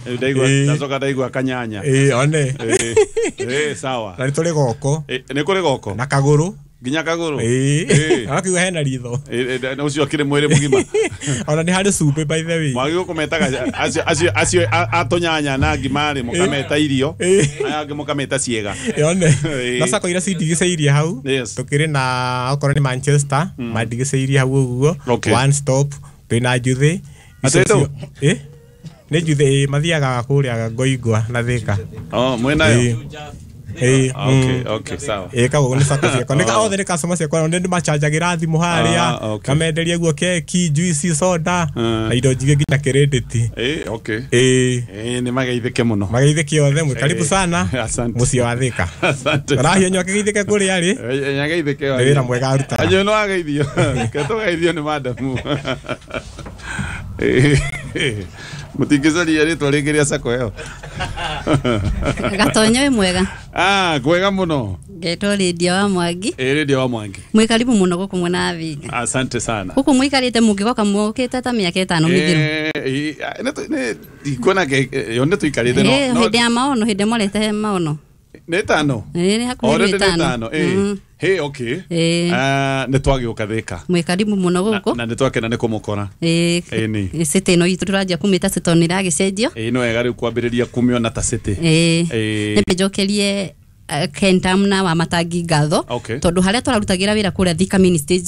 Ndaigua. Ndacoka ndaigua kanyanya. Ĩĩ, one. Ĩ, sawa. Na nĩ tũrĩ goko. Nĩ kũrĩ goko. Na kagũrũ. Nginya kagũrũ. Ĩĩ. Agakiuga hena ritho. Ĩ, ũcio akĩrĩ mwĩrĩ mũgima. Ona nĩ harĩ cumbĩ, by the way. Mwagĩrĩirwo kũmetaga acio a tũnyanya na ngima rĩ, mũkameta irio. Aya angĩ mũkameta ciĩga. One. Na sacco iria cindigicĩirie hau, tũkĩrĩ na okorwo nĩ Manchester, mandigicĩirie hau ũguo. One Stop, twĩna Njuthĩ. Atĩ Icio ĩ nĩ Njuthĩ, ĩ, mathiaga kũrĩa Ngoingwa na Thĩka. Oh, mwĩnayo? Ĩ. Okay, sawa. Ĩ, kagũgũ nĩ sacco ciakwa, nĩ othe nĩ customer ciakwa, nĩ ndĩmachanjagĩra thimũ harĩa. Ngamenderia guo keki, juice, soda na indo njingĩ, nginya kĩrĩndĩti. Okay. Ĩ. Nĩ mageithĩke mũno. Mageithĩke othe, mwĩ karibu sana. Asante. Mũciĩ wa Thĩka. Asante. Rahia akĩgeithĩke kũrĩa rĩ. Nyageithĩke. Nĩ wĩra mwega arutaga. Anyo no ageithio. Ke tũgeithio nĩ madamu. Mũtingĩcaria rĩtwa rĩngĩ rĩa sacco ĩyo? Gatonyo, wĩ mwega? Ah, kwega mũno. Ngetwo Rĩndia wa Mwangi. Ĩ, Rĩndia wa Mwangi. Mwĩ karibu mũno gũkũ mwena wa Thĩka. Asante sana. Gũkũ mũikarĩte mũngĩgoka mũkĩte ta mĩaka 5 mĩthiru. Nĩ ndikuona yo nĩ tũikarĩte no Hĩndĩ ya maono, hĩndĩ morete maono. Nĩ 5. Nĩ hakuhĩ. Already nĩ 5. 5, ĩ. Hey, okay. Ah, nĩ twagĩũka Thĩka. Mwĩ karibu mũno gũkũ. Na nĩ twakena nĩ kũmũkora. Ĩni. City ĩno itũ tũranjia kũmĩta city tondũ nĩ ĩragĩcenjio. Ĩ, nĩ wega rĩu kwambĩrĩria kũmĩona ta city. Nĩ njokerie Kentam na wa Matangi ngatho, tondũ harĩa tũrarutagĩra wĩra kũrĩa Thika mini stage.